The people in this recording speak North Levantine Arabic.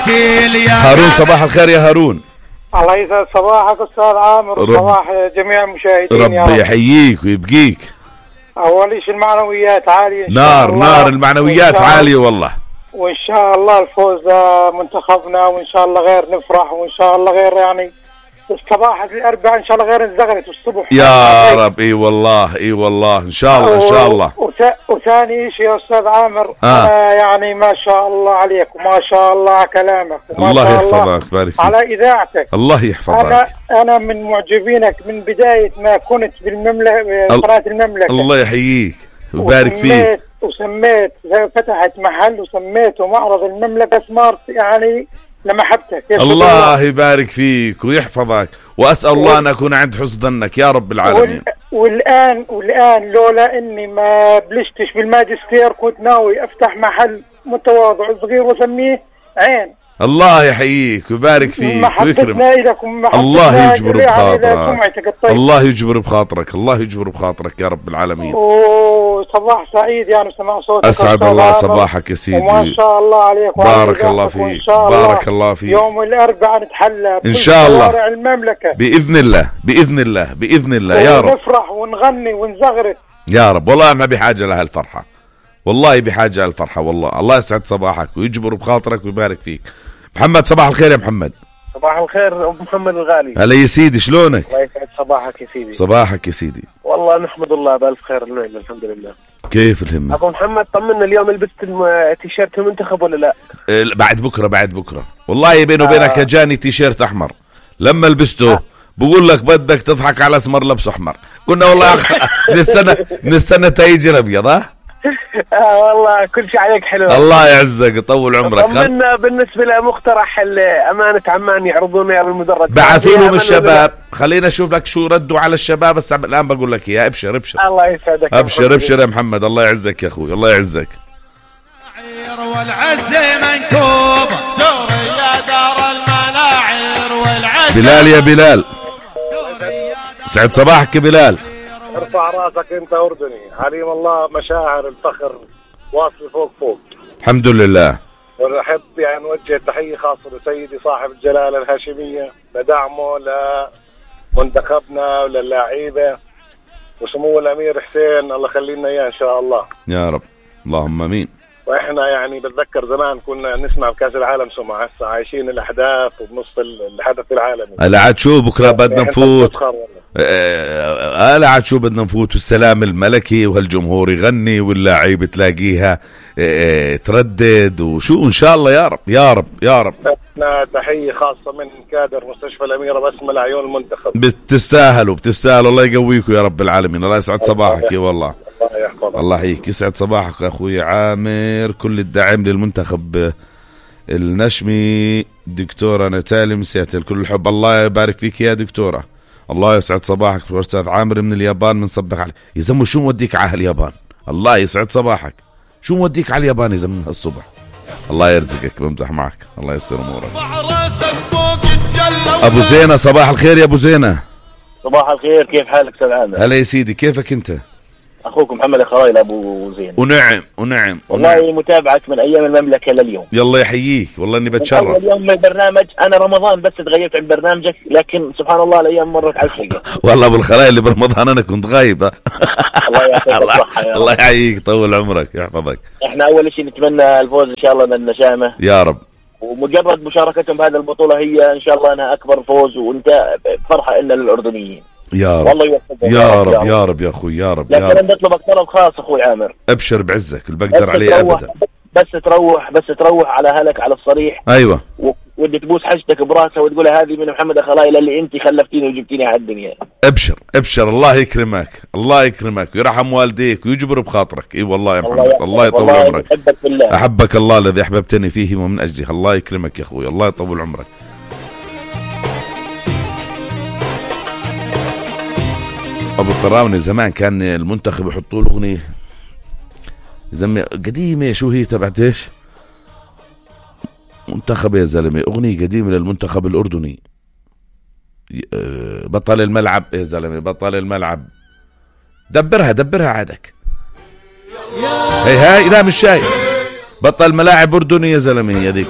هارون صباح الخير يا هارون. الله يسعد صباحك أستاذ عامر وصباح جميع المشاهدين. ربي يحييك ويبقيك. أول شيء المعنويات عالية نار المعنويات عالية والله، وإن شاء الله الفوز منتخبنا، وإن شاء الله غير نفرح، وإن شاء الله غير يعني صباحة الأربعاء إن شاء الله غير نزغرت الصبح يا رب. إي والله إن شاء الله إن شاء الله. وثاني شيء يا أستاذ عامر، يعني ما شاء الله عليك وما شاء الله على كلامك وما الله شاء يحفظك بارك فيك على إذاعتك. الله يحفظك. أنا من معجبينك من بداية ما كنت بالمملكة، قناة المملكة. الله يحييك وبارك فيك. وسميت فتحت محل وسميته معرض المملكة سمارت، يعني لمحبتك. الله يبارك فيك ويحفظك، وأسأل الله أن أكون عند حسن ظنك يا رب العالمين. والآن لولا إني ما بلشتش بالماجستير كنت ناوي أفتح محل متواضع صغير وسميه عين. الله يحييك ويبارك فيك ويكرمك. الله يجبر بخاطرك. الله يجبر بخاطرك. الله يجبر بخاطرك يا رب العالمين. صباح سعيد يعني سمع صوتك. أسعد الله صباحك يا سيدي. وما شاء الله عليك. بارك الله فيك. بارك الله فيك. يوم الأربعاء نتحلى إن شاء الله شوارع المملكة بإذن الله بإذن الله بإذن الله يا رب. ونفرح ونغني ونزغرت يا رب. والله ما بحاجة لها الفرحة، والله بحاجة الفرحة والله. الله يسعد صباحك ويجبر بخاطرك ويبارك فيك. محمد صباح الخير يا محمد. صباح الخير أبو محمد الغالي. هلا يا سيدي شلونك؟ الله يسعد صباحك يا سيدي. صباحك يا سيدي. والله نحمد الله بألف خير النعمة الحمد لله. كيف الهمة؟ أبو محمد طمنا، اليوم لبست تيشيرت المنتخب ولا لا؟ بعد بكرة والله بيني وبينك جاني تيشيرت أحمر، لما لبسته بقول لك بدك تضحك على اسمر لبسه أحمر. قلنا والله من السنة تيجي الأبيض. والله كل شيء عليك حلو. الله يعزك يطول عمرك. طمنا بالنسبة لمقترح أمانة عمان يعرضون بالمدرج، بعثوا لهم الشباب. خلينا نشوف لك شو ردوا على الشباب، بس الآن بقول لك يا ابشر. الله يسعدك. ابشر يا محمد. الله يعزك يا أخوي. الله يعزك. والعز منكوب سوريا دار الملاعر والعز. بلال يا بلال سعد صباحك يا بلال. ارفع راسك انت اردني، عليم الله مشاعر الفخر واصل فوق. الحمد لله. ونحب يعني نوجه تحيه خاصه لسيدي صاحب الجلاله الهاشميه لدعمه لمنتخبنا وللاعيبه، وسمو الامير حسين الله يخلينا اياه ان شاء الله يا رب. اللهم امين. واحنا يعني بتذكر زمان كنا نسمع بكاس العالم سمعة، هسه عايشين الاحداث وبنص الحدث العالمي. هلا عاد شو بكره بدنا نفوت. هلا عاد شو بدنا نفوت، والسلام الملكي وهالجمهور يغني واللاعيبه تلاقيها تردد وشو ان شاء الله يا رب يا رب يا رب. احنا تحيه خاصه من كادر مستشفى الاميره بسمه لعيون المنتخب. بتستاهلوا الله يقويكم يا رب العالمين. الله يسعد صباحك يا والله. الله يحييك. يسعد صباحك اخوي عامر. كل الدعم للمنتخب النشمي. دكتورة نتالي مسياتل كل الحب. الله يبارك فيك يا دكتورة. الله يسعد صباحك. أستاذ عامر من اليابان بنصبح عليك. يا زلمه شو موديك على اليابان؟ الله يسعد صباحك. شو موديك على اليابان يا زلمه الصبح؟ الله يرزقك. بمزح معك. الله يسر امورك. ابو زينة صباح الخير يا ابو زينة. صباح الخير، كيف حالك استاذ عامر؟ هلا يا سيدي، كيفك انت؟ اخوك محمد الخرايل ابو زين. ونعم والله متابعك من ايام المملكه لليوم. يلا يحييك والله اني بتشرف. اليوم من البرنامج انا رمضان بس تغيبت عن برنامجك، لكن سبحان الله الايام مرت على الحقيقه. والله ابو الخرايل اللي برمضان انا كنت غايب. الله يعطيك الصحه. الله يحييك طول عمرك يحفظك. احنا اول شيء نتمنى الفوز ان شاء الله للنشامه يا رب، ومجرد مشاركتهم بهذه البطوله هي ان شاء الله انها اكبر فوز، وانت فرحه لنا للاردنيين يا رب. والله يوفقك يا رب يا رب يا اخوي يا رب. لكن انا بطلبك طلب خاص اخوي عامر. ابشر بعزك اللي بقدر عليه ابدا. بس تروح على اهلك على الصريح. ايوه. ودي تبوس حجتك براسها وتقول هذه من محمد الخلايل اللي انت خلفتيني وجبتيني على الدنيا. ابشر الله يكرمك الله يكرمك ويرحم والديك ويجبر بخاطرك. اي والله يا محمد. الله يطول عمرك. احبك الله الذي احببتني فيه ومن اجله. الله يكرمك يا اخوي. الله يطول عمرك. ابو الطراوني زمان كان المنتخب يحطوا له اغنيه زلمه قديمه. شو هي تبعت ايش؟ منتخب يا زلمه، اغنيه قديمه للمنتخب الاردني. بطل الملعب يا زلمه، بطل الملعب. دبرها عادك. هاي لا مش شايف. بطل ملاعب اردني يا زلمه، هي ذيك.